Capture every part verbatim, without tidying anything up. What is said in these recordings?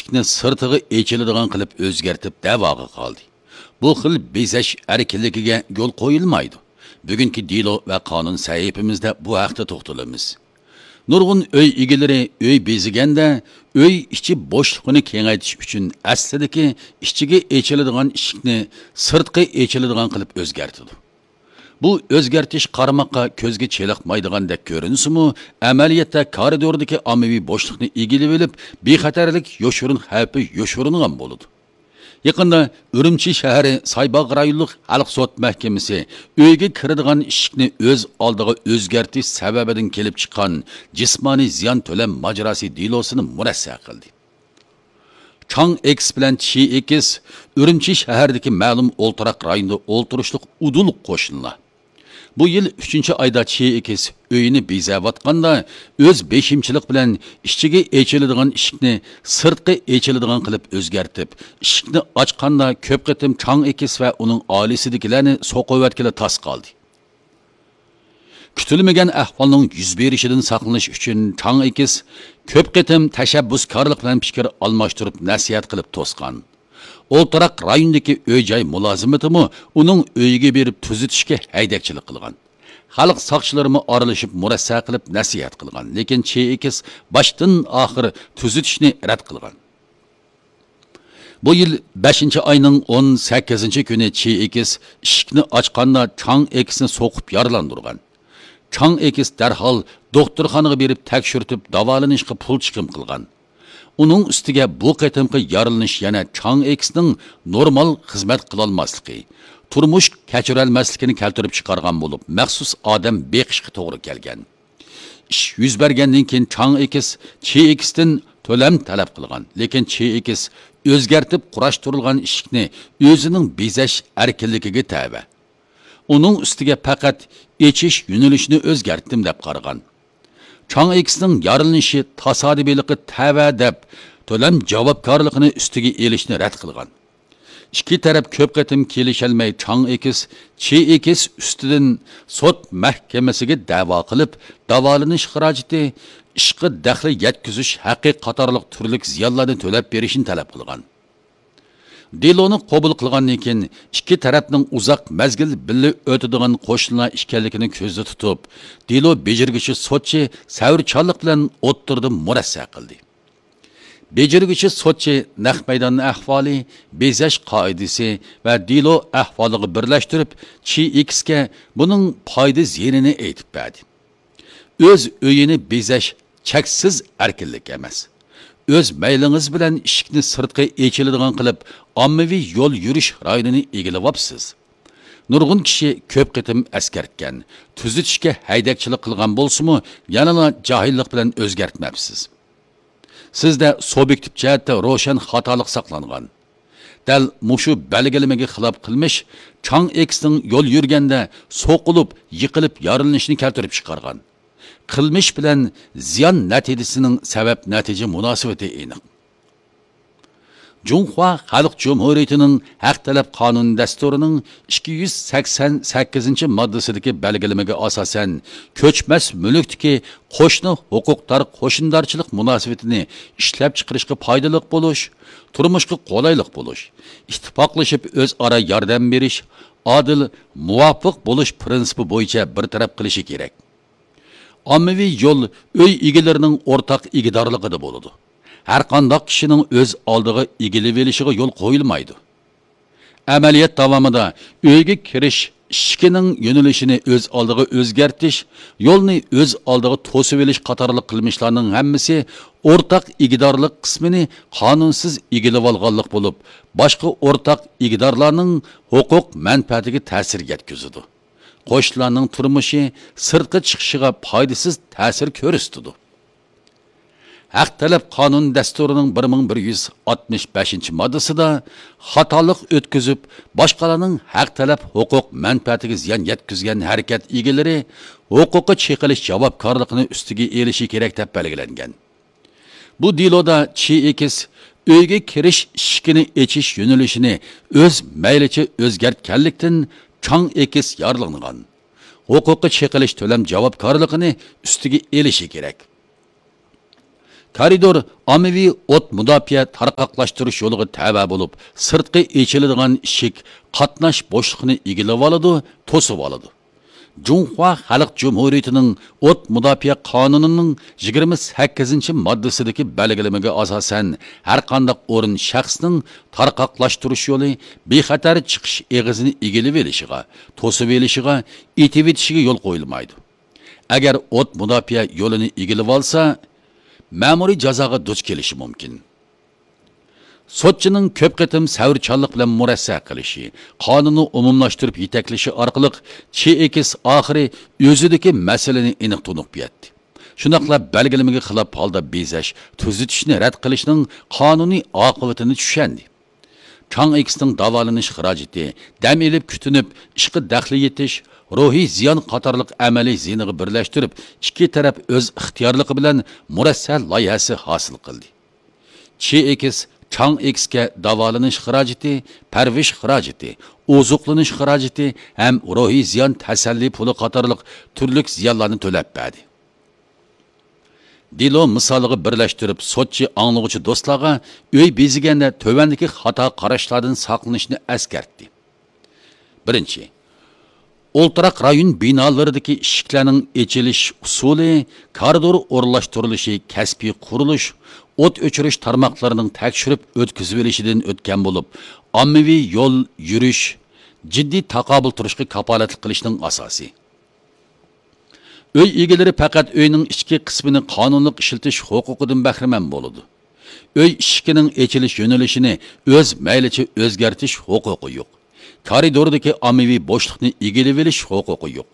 ئىشىكنى سىرتىغا ئېچىلىدىغان قىلىپ ئۆزگەرتىپ دەۋاغا قالدى. بۇ خىل بېزەش ئەركىنلىكىگە يول قويۇلمايدۇ. بۈگۈنكى دېلو ۋە قانۇن سەھىپىمىزدە بۇ ھەقتە توختىلىمىز. نۇرغۇن ئۆي ئىگىلىرى ئۆي بېزىگەندە، ئۆي ئىچى بوشلۇقىنى كېڭەيتىش ئۈچۈن ئەسلىدىكى ئىچىگە ئېچىلىدىغان ئىشىكنى سىرتقا ئېچىلىدىغان قىلىپ ئۆزگەرتىدۇ. بۇ ئۆزگەرتىش قارىماققا كۆزگە چېلىقمايدىغاندەك كۆرۈنسىمۇ، ئەمەلىيەتتە كارىدوردىكى ئاممىۋى بوشلۇقنى ئىگىلىۋېلىپ، بىخەتەرلىك يوشۇرۇن خەۋپى يوشۇرۇنغان بولىدۇ. يېقىندا ئۈرۈمچى شەھىرى سايباغ رايونلۇق خەلق سوت مەھكىمىسى ئۆيگە كىرىدىغان ئىشىكنى ئۆز ئالدىغا ئۆزگەرتىش سەۋەبىدىن كېلىپ چىققان جىسمانىي زىيان تۆلەم ماجىراسى دېلوسىنى مۇرەسسە قىلدى. چاڭ ئېكس بىلەن چى ئېكس ئۈرۈمچى شەھىرىدىكى مەلۇم ئولتۇراق رايوندا ئولتۇرۇشلۇق ئۇدۇل قوشنىلار. بۇ يىل ئۈچىنچى ئايدا چى ئېكس ئۆيىنى بېزەۋاتقاندا، ئۆز بېشىمچىلىق بىلەن ئىچىگە ئېچىلىدىغان ئىشىكنى سىرتقا ئېچىلىدىغان قىلىپ ئۆزگەرتىپ، ئىشىكنى ئاچقاندا كۆپ قېتىم چاڭ ئېكس ۋە ئۇنىڭ ئائىلىسىدىكىلەرنى سوقۇۋەتكىلى تاس قالدى. كۈتۈلمىگەن ئەھۋالنىڭ يۈز بېرىشىدىن ساقلىنىش ئۈچۈن چاڭ ئېكس كۆپ قېتىم تەشەببۇسكارلىق بىلەن پىكىر ئالماشتۇرۇپ نەسىھەت قىلىپ توسقان. ئولتۇراق رايوندىكى ئۆي-جاي مۇلازىمىتىمۇ ئۇنىڭ ئۆيىگە بېرىپ تۈزىتىشكە ھەيدەكچىلىك قىلغان. خەلق ساقچىلىرىمۇ ئارىلىشىپ مۇرەسسە قىلىپ نەسىھەت قىلغان، لېكىن چى ئېكس باشتىن ئاخىر تۈزىتىشنى رەت قىلغان. بۇ يىل بەشىنچى ئاينىڭ ئون سەككىزىنچى كۈنى چى ئېكس ئىشىكنى ئاچقاندا چاڭ ئېكسنى سوقۇپ يارىلاندۇرغان. چاڭ ئېكس دەرھال دوختۇرخانىغا بېرىپ تەكشۈرتۈپ داۋالىنىشقا پۇل چىقىم قىلغان. ئۇنىڭ ئۈستىگە بۇ قېتىمقى يارىلىنىش يەنە چاڭ ئېكسنىڭ نورمال خىزمەت قىلالماسلىقى، تۇرمۇش كەچۈرەلمەسلىكىنى كەلتۈرۈپ چىقارغان بولۇپ، مەخسۇس ئادەم بېقىشقا توغرا كەلگەن. ئىش يۈز بەرگەندىن كېيىن چاڭ ئېكس چى ئېكستىن تۆلەم تەلەپ قىلغان، لېكىن چى ئېكس ئۆزگەرتىپ قۇراشتۇرۇلغان ئىشىكنى ئۆزىنىڭ بېزەش ئەركىنلىكىگە تەۋە. ئۇنىڭ ئۈستىگە پەقەت ئېچىش يۆنىلىشىنى ئۆزگەرتتىم دەپ قارىغان. چاڭ ئېكسنىڭ يارىلىنىشى تاسادىپىيلىققا تەۋە دەپ، تۆلەم جاۋابكارلىقىنى ئۈستىگە ئېلىشنى رەت قىلغان. ئىككى تەرەپ كۆپ قېتىم كېلىشەلمەي، چاڭ ئېكس چى ئېكس ئۈستىدىن سوت مەھكىمىسىگە دەۋا قىلىپ، داۋالىنىش خىراجىتى، ئىشقا دەخلى يەتكۈزۈش ھەققى قاتارلىق تۈرلۈك زىيانلارنى تۆلەپ بېرىشنى تەلەپ قىلغان. دېلونى قوبۇل قىلغاندىن كېيىن، ئىككى تەرەپنىڭ ئۇزاق مەزگىل بىللە ئۆتىدىغان قوشنىلار ئىكەنلىكىنى كۆزدە تۇتۇپ، دېلو بېجىرگۈچى سوتچى سەۋرچانلىق بىلەن ئوتتۇرىدا مۇرەسسە قىلدى. بېجىرگۈچى سوتچى نەق مەيدان ئەھۋالى، بېزەش قائىدىسى ۋە دېلو ئەھۋالىغا بىرلەشتۈرۈپ، چى ئېكسكە بۇنىڭ پايدا زىيىنىنى ئېيتىپ بەردى. ئۆز ئۆيىنى بېزەش چەكسىز ئەركىنلىك ئەمەس. ئۆز مەيلىڭىز بىلەن ئىشىكنى سىرتقا ئېچىلىدىغان قىلىپ، ئاممىۋى يول يۈرۈش رايونىنى ئىگىلىۋاپسىز. نۇرغۇن كىشى كۆپ قېتىم ئەسكەرتكەن، تۈزىتىشكە ھەيدەكچىلىك قىلغان بولسىمۇ، يەنىلا جاھىللىق بىلەن ئۆزگەرتمەپسىز. سىزدە سۇبيېكتىپ جەھەتتە روشەن خاتالىق ساقلانغان. دەل مۇشۇ بەلگىلىمىگە خىلاپ قىلمىش چاڭ ئېكسنىڭ يول يۈرگەندە سوقۇلۇپ، يىقىلىپ يارىلىنىشىنى كەلتۈرۈپ چىقارغان. قىلمىش بىلەن زىيان نەتىجىسىنىڭ سەۋەب نەتىجە مۇناسىۋىتى ئېنىق. جۇڭخۇا خەلق جۇمھۇرىيىتىنىڭ ھەق تەلەپ قانۇن دەستۇرىنىڭ ئىككى يۈز سەكسەن سەككىزىنچى ماددىسىدىكى بەلگىلىمىگە ئاساسەن، كۆچمەس مۈلۈكتىكى قوشنا ھوقۇقدار قوشنىدارچىلىق مۇناسىۋىتىنى ئىشلەپچىقىرىشقا پايدىلىق بولۇش، تۇرمۇشقا قولايلىق بولۇش، ئىتتىپاقلىشىپ ئۆزئارا ياردەم بېرىش، ئادىل، مۇۋاپىق بولۇش پىرىنسىپى بويىچە بىر تەرەپ قىلىشى كېرەك. ئاممىۋى يول ئۆي ئىگىلىرىنىڭ ئورتاق ئىگىدارلىقىدا بولىدۇ. ھەرقانداق كىشىنىڭ ئۆز ئالدىغا ئىگىلىۋېلىشىغا يول قويۇلمايدۇ. ئەمەلىيەت داۋامىدا ئۆيگە كىرىش ئىشىكىنىڭ يۆنىلىشىنى ئۆز ئالدىغا ئۆزگەرتىش، يولنى ئۆز ئالدىغا توسۇۋېلىش قاتارلىق قىلمىشلارنىڭ ھەممىسى ئورتاق ئىگىدارلىق قىسمىنى قانۇنسىز ئىگىلىۋالغانلىق بولۇپ، باشقا ئورتاق ئىگىدارلارنىڭ ھوقۇق مەنپەئەتىگە تەسىر يەتكۈزىدۇ. قوشنىلارنىڭ تۇرمۇشى، سىرتقا چىقىشىغا پايدىسىز تەسىر كۆرسىتىدۇ. ھەق تەلەپ قانۇن دەستۇرىنىڭ بىر مىڭ بىر يۈز ئاتمىش بەشىنچى ماددىسىدا خاتالىق ئۆتكۈزۈپ، باشقىلارنىڭ ھەق تەلەپ ھوقۇق مەنپەئەتىگە زىيان يەتكۈزگەن ھەرىكەت ئىگىلىرى ھوقۇققا چېقىلىش جاۋابكارلىقىنى ئۈستىگە ئېلىشى كېرەك دەپ بەلگىلەنگەن. بۇ دېلودا چى ئېكس ئۆيگە كىرىش ئىشىكىنى ئېچىش يۆنىلىشىنى ئۆز مەيلىچە ئۆزگەرتكەنلىكتىن، چاڭ ئېكس يارىلانغان. ھوقۇققا چېقىلىش تۆلەم جاۋابكارلىقىنى ئۈستىگە ئېلىشى كېرەك. كارىدور ئاممىۋى ئوت مۇداپىئە تارقاقلاشتۇرۇش يولىغا تەۋە بولۇپ، سىرتقى ئېچىلىدىغان ئىشىك قاتناش بوشلۇقىنى ئىگىلىۋالىدۇ، توسۇۋالىدۇ. جۇڭخۇا خەلق جۇمھۇرىيىتىنىڭ ئوت مۇداپىئە قانۇنىنىڭ يىگىرمە سەككىزىنچى ماددىسىدىكى بەلگىلىمىگە ئاساسەن، ھەرقانداق ئورۇن شەخسنىڭ تارقاقلاشتۇرۇش يولى، بىخەتەر چىقىش ئېغىزىنى ئىگىلىۋېلىشىغا، توسۇۋېلىشىغا، ئېتىۋېتىشىگە يول قويۇلمايدۇ. ئەگەر ئوت مۇداپىئە يولىنى ئىگىلىۋالسا، مەمۇرىي جازاغا دۇچ كېلىشى مۇمكىن. سوتچىنىڭ كۆپ قېتىم سەۋرچانلىق بىلەن مۇرەسسە قىلىشى، قانۇننى ئومۇملاشتۇرۇپ يېتەكلىشى ئارقىلىق چېئېكىس ئاخىرى ئۆزىدىكى مەسىلىنى ئېنىق تونۇپ يەتتى. شۇنداقلا بەلگىلىمىگە خىلاپ ھالدا بېزەش، تۈزىتىشنى رەت قىلىشنىڭ قانۇنىي ئاقىۋىتىنى چۈشەندى. چاڭ ئېكسنىڭ داۋالىنىش خىراجىتى، دەم ئېلىپ كۈتۈنۈپ، ئىشقا دەخلى يېتىش، روھىي زىيان قاتارلىق ئەمەلىي زىيىنىغا بىرلەشتۈرۈپ، ئىككى تەرەپ ئۆز ئىختىيارلىقى بىلەن مۇرەسسە لايىھەسى ھاسىل قىلدى. چېئېكس چاڭ ئېكسكە داۋالىنىش خىراجىتى، پەرۋىش خىراجىتى، ئوزۇقلىنىش خىراجىتى ھەم روھىي زىيان تەسەللى پۇلى قاتارلىق تۈرلۈك زىيانلارنى تۆلەپ بەردى. دېلو مىسالىغا بىرلەشتۈرۈپ، سوتچى ئاڭلىغۇچى دوستلارغا ئۆي بېزىگەندە تۆۋەندىكى خاتا قاراشلاردىن ساقلىنىشنى ئەسكەرتتى. بىرىنچى، ئولتۇراق رايون بىنالىرىدىكى ئىشىكلەرنىڭ ئېچىلىش ئۇسۇلى، كارىدور ئورۇنلاشتۇرۇلۇشى، كەسپىي قۇرۇلۇش، ئوت ئۆچۈرۈش تارماقلىرىنىڭ تەكشۈرۈپ ئۆتكۈزۈۋېلىشىدىن ئۆتكەن بولۇپ، ئاممىۋى يول يۈرۈش، جىددىي تاقابىل تۇرۇشقا كاپالەتلىك قىلىشنىڭ ئاساسى. ئۆي ئىگىلىرى پەقەت ئۆينىڭ ئىچكى قىسمىنى قانۇنلۇق ئىشلىتىش ھوقۇقىدىن بەھرىمەن بولىدۇ. ئۆي ئىشىكىنىڭ ئېچىلىش يۆنىلىشىنى ئۆز مەيلىچە ئۆزگەرتىش ھوقۇقى يوق. كارىدوردىكى ئاممىۋى بوشلۇقنى ئىگىلىۋېلىش ھوقۇقى يوق.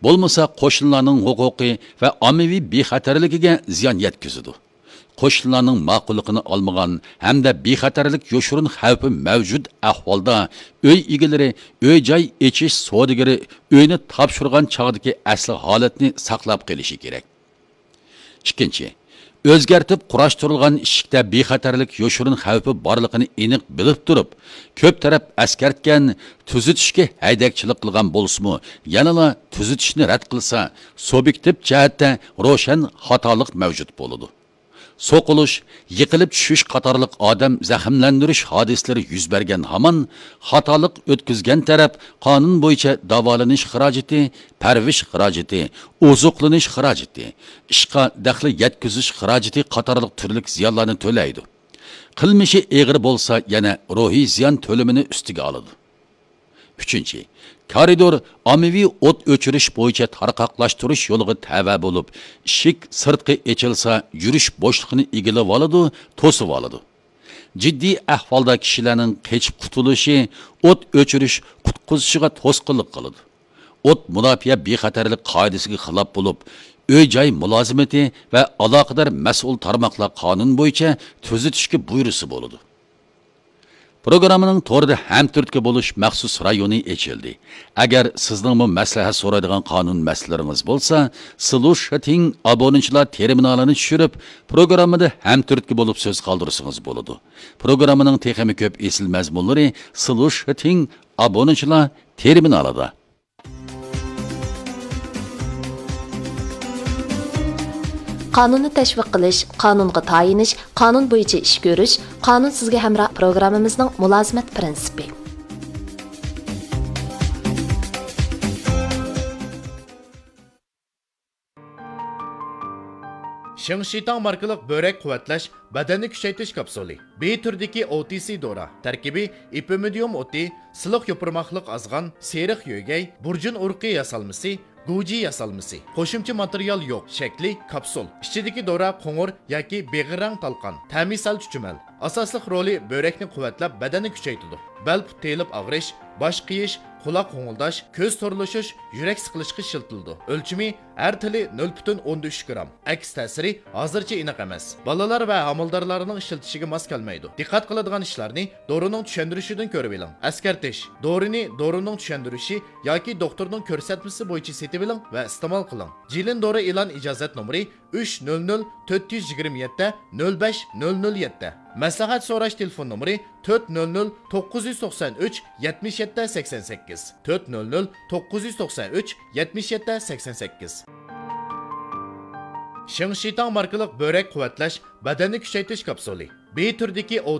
بولمىسا قوشنىلارنىڭ ھوقۇقى ۋە ئاممىۋى بىخەتەرلىكىگە زىيان يەتكۈزىدۇ. قوشنىلارنىڭ ماقۇللۇقىنى ئالمىغان ھەمدە بىخەتەرلىك يوشۇرۇن خەۋپى مەۋجۇت ئەھۋالدا ئۆي ئىگىلىرى ئۆي-جاي ئېچىش سودىگىرى ئۆينى تاپشۇرغان چاغدىكى ئەسلى ھالەتنى ساقلاپ قېلىشى كېرەك. ئىككىنچى، ئۆزگەرتىپ قۇراشتۇرۇلغان ئىشىكتە بىخەتەرلىك يوشۇرۇن خەۋپى بارلىقىنى ئېنىق بىلىپ تۇرۇپ، كۆپ تەرەپ ئەسكەرتكەن، تۈزىتىشكە ھەيدەكچىلىك قىلغان بولسىمۇ، يەنىلا تۈزىتىشنى رەت قىلسا، سۇبيېكتىپ جەھەتتە روشەن خاتالىق مەۋجۇت بولىدۇ. سوقۇلۇش، يىقىلىپ چۈشۈش قاتارلىق ئادەم زەخىملەندۈرۈش ھادىسىلىرى يۈز بەرگەن ھامان، خاتالىق ئۆتكۈزگەن تەرەپ قانۇن بويىچە داۋالىنىش خىراجىتى، پەرۋىش خىراجىتى، ئوزۇقلىنىش خىراجىتى، ئىشقا دەخلى يەتكۈزۈش خىراجىتى قاتارلىق تۈرلۈك زىيانلارنى تۆلەيدۇ. قىلمىشى ئېغىر بولسا، يەنە روھىي زىيان تۆلىمىنى ئۈستىگە ئالىدۇ. ئۈچىنچى، كارىدور ئاممىۋى ئوت ئۆچۈرۈش بويىچە تارقاقلاشتۇرۇش يولىغا تەۋە بولۇپ، ئىشىك سىرتقى ئېچىلسا، يۈرۈش بوشلۇقىنى ئىگىلىۋالىدۇ، توسۇۋالىدۇ. جىددىي ئەھۋالدا كىشىلەرنىڭ قېچىپ قۇتۇلۇشى ئوت ئۆچۈرۈش قۇتقۇزۇشىغا توسقۇنلۇق قىلىدۇ. ئوت مۇداپىئە بىخەتەرلىك قائىدىسىگە خىلاپ بولۇپ، ئۆي-جاي مۇلازىمىتى ۋە ئالاقىدار مەسئۇل تارماقلار قانۇن بويىچە تۈزىتىشكە بۇيرۇسا بولىدۇ. پروگراممىنىڭ توردا ھەمتۈرتكە بولۇش مەخسۇس رايونى ئېچىلدى. ئەگەر سىزنىڭمۇ مەسلىھەت سورايدىغان قانۇن مەسىلىلىرىڭىز بولسا، سلۇشىتىڭ ئابونېنتلار تېرمىنالىنى چۈشۈرۈپ، پروگراممىدا ھەمتۈرتكە بولۇپ سۆز قالدۇرسىڭىز بولىدۇ. پروگراممىنىڭ تېخىمۇ كۆپ ئېسىل مەزمۇنلىرى سلۇشىتىڭ ئابونېنتلار تېرمىنالىدا. قانۇننى تەشۋىق قىلىش، قانۇنغا تايىنىش، قانۇن بويىچە ئىش كۆرۈش، قانۇن سىزگە ھەمراھ پروگراممىمىزنىڭ مۇلازىمەت پىرىنسىپى. شېڭشىتاڭ ماركىلىق بۆرەك قۇۋۋەتلەش، بەدەننى كۈچەيتىش كاپسۇلى. بى تۈرىدىكى ئو تى سى دورا. تەركىبى ئېپىمىدىيۇم ئوتى، سىلىق يوپۇرماقلىق ئازغان، سېرىق يۆگەي، بۇرجۇن ئۇرۇقى ياسالمىسى، گۇجى ياسالمىسى. قوشۇمچە ماتېرىيال يوق. شەكلى كاپسۇل. ئىچىدىكى دورا قوڭۇر ياكى بېغىر رەڭ تالقان. تەمى سەل چۈچۈمەل. ئاساسلىق رولى بۆرەكنى قۇۋۋەتلەپ، بەدەننى كۈچەيتىدۇ. بەل پۇت تېيىلىپ ئاغرىش، باش قېيىش، قۇلاق غوڭۇلداش، كۆز تورلىشىش، يۈرەك سىقىلىشقا ئىشلىتىلىدۇ. ئۆلچىمى ھەر تىلى نۆل پۈتۈن ئوندىن ئۈچ گرام. ئەكس تەسىرى ھازىرچە ئېنىق ئەمەس. بالىلار ۋە ھامىلىدارلارنىڭ ئىشلىتىشىگە ماس كەلمەيدۇ. دىققەت قىلىدىغان ئىشلارنى دورىنىڭ چۈشەندۈرۈشىدىن كۆرۈۋېلىڭ. ئەسكەرتىش: دورىنى دورىنىڭ چۈشەندۈرۈشى ياكى دوختۇرنىڭ كۆرسەتمىسى بويىچە سېتىۋېلىڭ ۋە ئىستېمال قىلىڭ. جىلىن دورا ئېلان ئىجازەت نومۇرى ئۈچ نۆل نۆل تۆت يۈز يىگىرمە يەتتە نۆل بەش نۆل نۆل يەتتە. مەسلىھەت سوراش تېلېفون نومۇرى تۆت نۆل نۆل توققۇز يۈز توقسان ئۈچ يەتمىش يەتتە سەكسەن سەككىز، تۆت نۆل نۆل توققۇز يۈز توقسان ئۈچ يەتمىش يەتتە سەكسەن سەككىز. شىڭشىتاڭ ماركىلىق بۆرەك قۇۋۋەتلەش، بەدەننى كۈچەيتىش كاپسۇلى. بى تۈرىدىكى ئوتۇز